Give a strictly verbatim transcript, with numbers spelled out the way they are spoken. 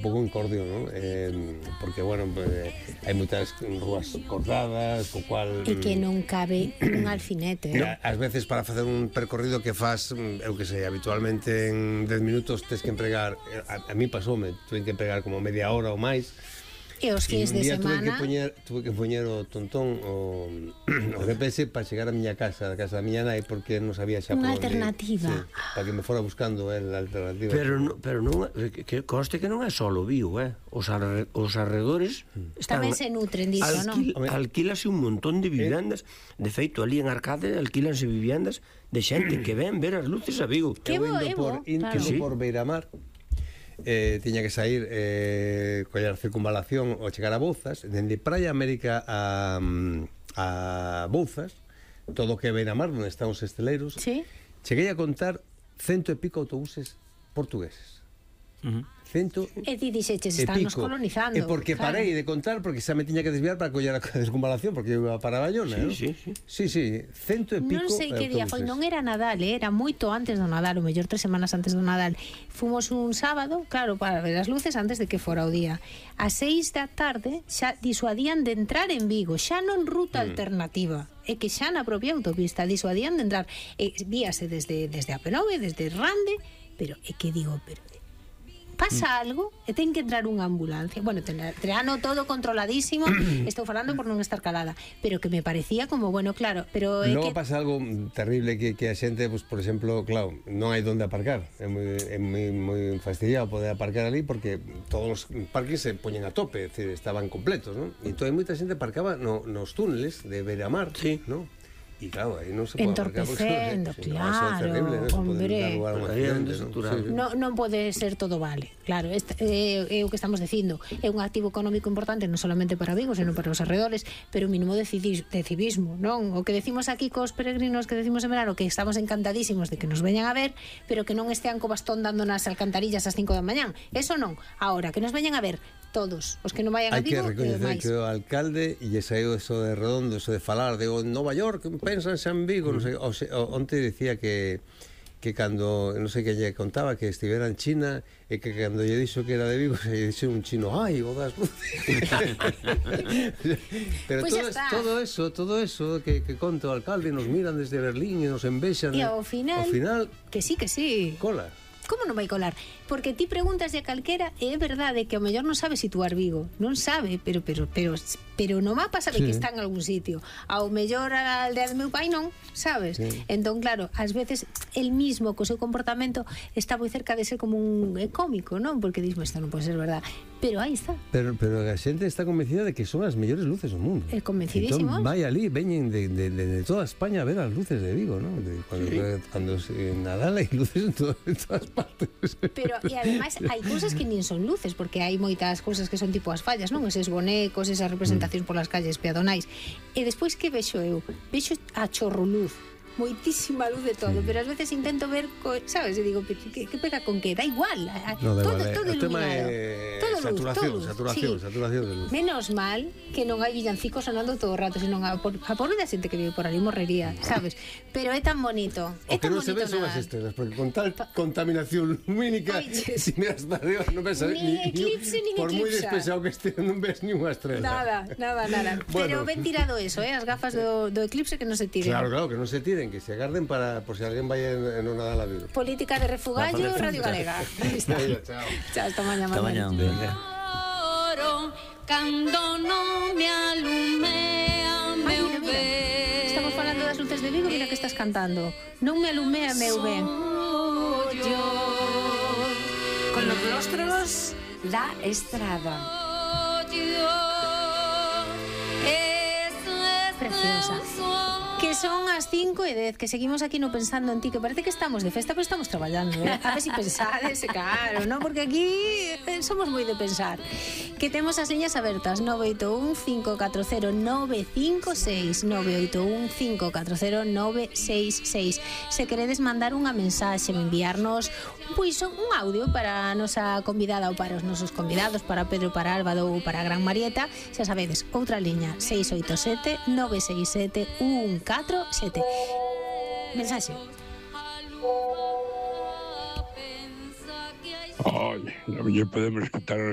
un pouco incordio, non? Eh, porque, bueno, pues, hai moitas rúas cortadas, co cual... E que non cabe un alfinete. No, ás veces para facer un percorrido que faz, eu que sei, habitualmente en dez minutos tes que empregar, a, a mí pasoume, tuve que empregar como media hora ou máis. E os fins de semana... Tuve que poñer, tuve que poñer o tontón o, o G P S para chegar a miña casa, a casa da miña nai, porque non sabía xa unha por onde, alternativa. Sí, para que me fora buscando el a alternativa. Pero, no, pero non, que conste que non é solo Vigo, eh? Os, arre, os arredores están... Tamén se nutren diso, alquil, non? Alquílase un montón de vivendas. De feito, ali en Arcade alquílanse vivendas de xente que ven ver as luces a Vigo. Que bo, é bo, claro. Indo por Beiramar, Eh, tiña que sair eh, coller circunvalación ou chegar a Bouzas, dende Praia América a, a Bouzas, todo o que ven a mar onde están os esteleiros. Sí. Cheguei a contar cento e pico autobuses portugueses. Uh -huh. Cento e ti dixeches, estánnos colonizando. E porque claro. parei de contar, porque xa me tiña que desviar para coller a desconvalación, porque eu iba para Bayona, sí, ¿no? sí, sí. Sí, sí, cento e pico. Non sei que día foi, non era Nadal, era moito antes do Nadal, o mellor tres semanas antes do Nadal. Fomos un sábado, claro, para ver as luces antes de que fora o día. A seis da tarde xa disuadían de entrar en Vigo, xa non ruta mm. alternativa. É que xa na propia autopista disuadían de entrar. E víase desde, desde a P nove, desde Rande, pero é que digo, pero pasa algo e ten que entrar unha ambulancia. Bueno, terano todo controladísimo. Estou falando por non estar calada, pero que me parecía como, bueno, claro, pero é logo que... pasa algo terrible que, que a xente, pues, por exemplo, claro, non hai donde aparcar. É moi, é moi, moi fastidiado poder aparcar ali porque todos os parques se poñen a tope, é dicir, estaban completos, ¿no? E entón hai moita xente aparcaba no, nos túneles de Beiramar, sí, ¿no? E claro, aí non se pode entorpecendo, porque, claro, no, terrible, ¿no? hombre, accidente, ¿no? Sí. Non, non pode ser todo vale, claro, este, é, é o que estamos dicindo, é un activo económico importante non solamente para Vigo, senón para os arredores, pero un mínimo de, cidis, de civismo, non? O que decimos aquí cos peregrinos que decimos en verano, que estamos encantadísimos de que nos veñan a ver, pero que non estean co bastón dando nas alcantarillas ás cinco da mañán, eso non. Ahora, que nos veñan a ver todos, os que non vayan a Vigo, hai que recoñecer que o alcalde e lle saiu eso de redondo, eso de falar de o Nova York, pensan xa en Vigo, mm. non sei, o, o, onte dicía que que cando, non sei que lle contaba que estivera en China e que cando lle dixo que era de Vigo se lle dixo un chino, ai, o das luces. Pero pues todo, todo eso, todo eso que, que conta o alcalde, nos miran desde Berlín e nos envexan, e ao final, ao final que sí, que sí, cola. Como non vai colar? Porque ti preguntas de calquera e é verdade que ao mellor non sabe situar Vigo, non sabe, pero pero pero pero no mapa sabe sí. que está en algún sitio. Ao mellor a aldea do meu pai non, sabes? Sí. Entón, claro, ás veces el mismo co seu comportamento está moi cerca de ser como un é cómico, non? Porque dis, isto non pode ser verdade. Pero aí está. Pero pero a xente está convencida de que son as mellores luces do mundo. É convencidísimo. Entón, vai ali, veñen de, de, de, de toda España a ver as luces de Vigo, non? De, cuando, sí. cuando en Nadal hai luces en, todo, en todas partes. Pero, e ademais, hai cousas que nin son luces, porque hai moitas cousas que son tipo as fallas, non? Eses bonecos, esas representacións polas calles peatonais. E despois que vexo eu? Vexo a chorro luz, moitísima luz de todo, sí. pero ás veces intento ver, co, sabes, e digo, que, que pega con que? Da igual, no, da todo, igual, todo iluminado, é... todo saturación, luz, todo saturación, sí. saturación de luz. Menos mal que non hai villancicos sonando todo o rato, senón a, por, a pobre da xente que vive por ali morrería, sabes? Pero é tan bonito, é o que tan non se ve son as estrelas, porque con tal contaminación lumínica, si miras para arriba non ves ni, ni eclipse, ni por eclipse. moi despexado que este non ves ni unha estrela. Nada, nada, nada. Bueno. Pero ben tirado eso, eh, as gafas do, do eclipse que non se tiren. Claro, claro, que non se tiren, que se agarden para por si alguén vai en, en unha Nadal a Vigo. Política de refugallo, Radio Galega. Está. Chao. Chao, hasta mañana. Hasta mañana. Cando non me alumea meu ben. Estamos falando das luces de Vigo, mira que estás cantando. Non me alumea meu ben. Con los rostros da estrada. Preciosa. Que son as cinco e dez, que seguimos aquí no pensando en ti, que parece que estamos de festa, pero estamos traballando, eh? A ver si pensades, claro, ¿no? Porque aquí eh, somos moi de pensar. Que temos as liñas abertas, nove oito un, cinco catro cero, nove cinco seis, nove oito un, cinco catro cero, nove seis seis. Se queredes mandar unha mensaxe, enviarnos pois un audio para a nosa convidada ou para os nosos convidados, para Pedro, para Álvaro ou para a Gran Marieta, xa sabedes, outra liña, seis oito sete, nove seis sete, un catro sete. Mensaxe. Ai, a mellor podemos quitar as